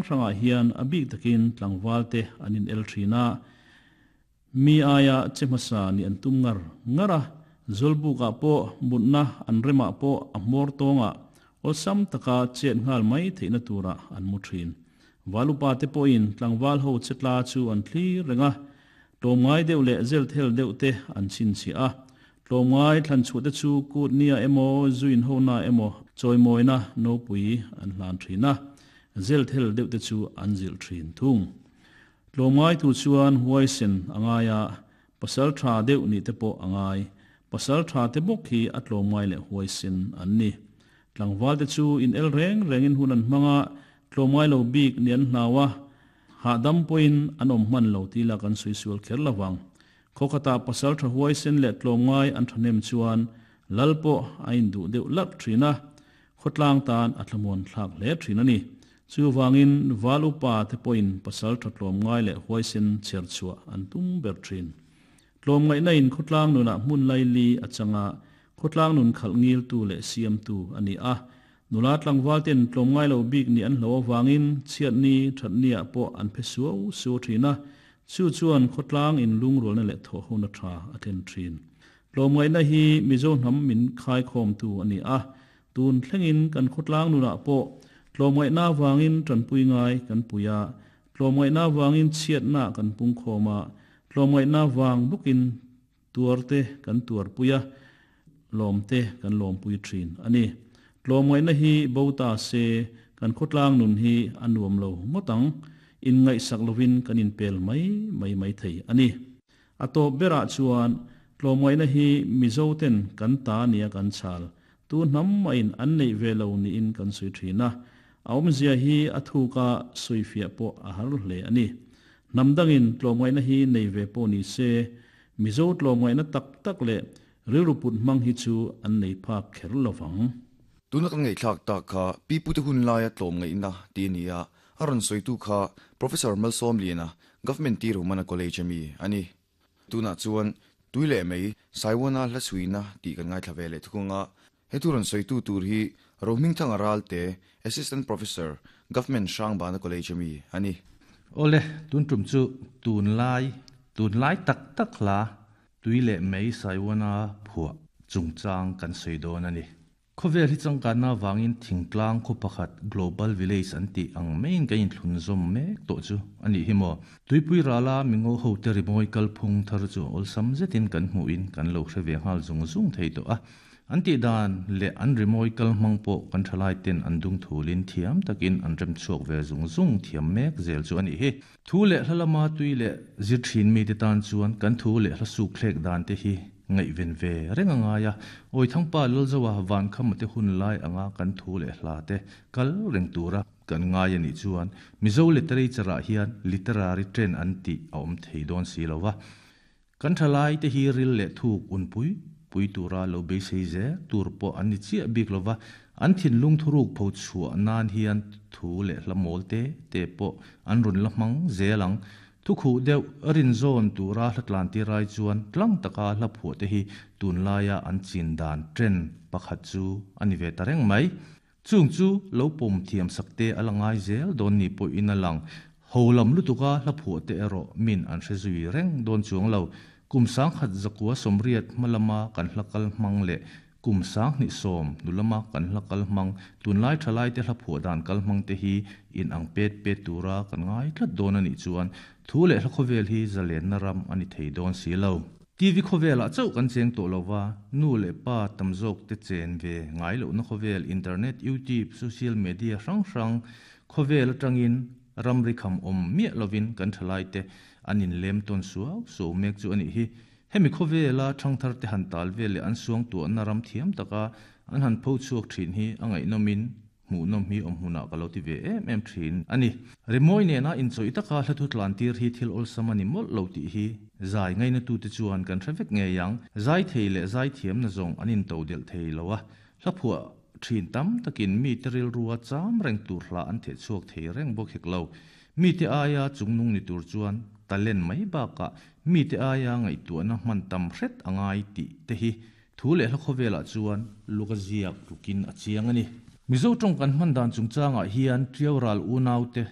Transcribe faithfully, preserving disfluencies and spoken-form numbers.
hrangah hian a bik takin tlangval te an in el thin a, mi aia che hmasa ni an tum ngar ngar a, zawlbukah pawh mutna an remah pawh a hmawr tawngah awlsam taka chet nghal mai theihna turah an mu thin. Valupa te pawhin tlangval ho chetla chu an thlir reng a, tlawmngai deuh leh zel thel deuh te an chhinchhiah a, tlawmngai thlan chhuah te chu kut nia emaw zuin ho na emaw chawimawina nopui an hlan thin a, zel thel deuh te chu an zilh thin thung. Tlawmngai tur chuan huaisen a ngai a, pasal tha deuh nih te pawh a ngai. Pasal tha te bawk hi a tlawmngai leh huaisen an ni. Tlangval te chu in el reng rengin hun an hmang a, tlawmngai lo bik ni an hlau a, hahdam pawhin an awm hman lo tih lah kan sawi sual kher lo vang. Khaw khatah pasal tha huaisen leh tlawmngai an thahnem chuan lal pawh a induh deuh larh thin a, khawtlang tan a thlamuan thlak hle thin a ni. Chuvangin val upa te pawhin pasal tha tlawmngai leh huaisen chher chhuah an tum ber thin. Tlawmngaihna in khawtlang nunah hmun laili a chang a, khawtlang nun khalh ngiltu leh siamtu a ni a. Nula tlangval ten tlawmngai lo bik nih an hlo avangin chhiatni thatniah pawh an phe suau suau thin a, chu chuan khawtlang in lungrualna leh thawhhona tha a thlen thin. Tlawmngaihna hi Mizo hnam min khaikhawmtu a ni a, tun thlengin kan khawtlang nunah pawh tlawmngaihna avangin tanpui ngai kan pui a, tlawmngaihna avangin chhiatna kan pungkhawm a, tlawmngaihna vang bawkin tuarte kan tuarpui a, lawmte kan lawmpui thin a ni. Tlawmngaihna hi bo ta se kan khawtlang nun hi a nuam lo ngawt ang, inngaihsak lovin kan inpel mai mai mai thei a ni. A tawp berah chuan tlawmngaihna hi Mizo ten kan ta nia kan chhal, tu hnam mahin an neih ve lo niin kan sawi thin a, a awmzia hi a thuka sawifiah pawh a har hle a ni. Hnam dangin tlawmngaihna hi nei ve pawh ni se, Mizo tlawmngaihna tak tak leh rilru put hmang hi chu an nei phak kher lo vang. Tuna kan ngaihthlak tak kha Pi Pute hun laia tlawmngaihna tih a ni a, a rawn sawitu kha Professor Malsawmliana, Government Tirhu Mana College ami a ni. Tunah chuan Tui leh Mei, Saiwana hla chhuina tih kan ngaithla ve leh thung a, he thu rawn sawitu tur hi Rohmingthanga Ralte, Assistant Professor, Government Hrangbana College ami a ni. Awle, tun tum chu tunlai, tunlai tak tak hla Tui leh Mei Saiwana phuah chungchang kan sawi dawn a ni. Khawvel hi changkanna avangin thingtlang khaw pakhat Global Village an tih ang maiin kan inthlunzawm mek tawh chu a nih hi maw? Tuipui rala mingo hote rimawi kalphung thar chu awlsam zetin kan hmuhin kan lo hre ve nghal zung zung thei tawh a. An tih dan leh an rimawi kal hmang pawh kan thalai ten an dung thulin thiam takin an rem chhuak ve zung zung thiam mek zel chu a nih hi. Thu leh hla lama tui leh zir thin mite tan chuan kan thu leh hla suk thlek dan te hi ngaihven ve reng a ngai a, Awithangpa Lalzoa Vankhama te hun lai anga kan thu leh hla te kal reng tura kan ngai a nih chuan Mizo literature ah hian literary trend an tih a awm thei dawn si lo va. Kan thalai te hi ril leh thuk unpui pui tura lo beisei zel tur pawh an ni chiah bik lo va, an thinlung thuruk pho chhuah nan hian thu leh hla mawl te te pawh an rawn la hmang zel ang. Thukhuh deuh rin zawn tura hla tlan tir ai chuan tlang taka hla phuah te hi tunlaia an chin dan trend pakhat chu a ni ve ta reng mai. Chung chu lo pawm thiam sak te a la ngai zel dawn ni pawhin a lang. Ho lam lutuka hla phuah te erawh min an hre zui reng dawn chuang lo. Kum sangkhat zakua sawmriat hma lama kan hla kal hmang leh kum sanghnih sawm hnu lama kan hla kal hmang, tunlai thalai te hla phuah dan kal hmang te hi in ang pet pet tura kan ngai tlat dawn a nih chuan thu leh hla khawvel hi zalenna ram a ni thei dawn si lo. T V khawvelah chauh kan cheng tawh lo va, nu leh pa tam zawk te chen ve ngai lohna khawvel, internet, YouTube, social media hrang hrang khawvel atangin ramri kham awm miah lovin kan thalai te an inlem tawn suau suau mek chu a nih hi. Hemi khawvela thangthar te han tal vel leh an suangtuahna ram thiam taka an han pho chhuak thin hi a ngaihnawmin hmuhnawm hi awm hmunah ka lo ti ve em em thin a ni. Rimawi nena inchawih taka hla thu tlan tir hi thil awlsam a ni mawlh lo tih hi zai ngainatute chuan kan hre vek ngei ang. Zai thei leh zai thiamna zawng an into delh thei lo a, hla phuah thin tam takin mite rilrua cham reng tur hla an theh chhuak thei reng bawk hek lo. Mite aia chungnung ni tur chuan talent mai bakah mite aia ngaihtuahna hman tam hret a ngai tih te hi thu leh hla khawvelah chuan luk a ziak tlukin a chiang a ni. Mizo tawng kan hman dan chungchangah hian Tiau ral unaute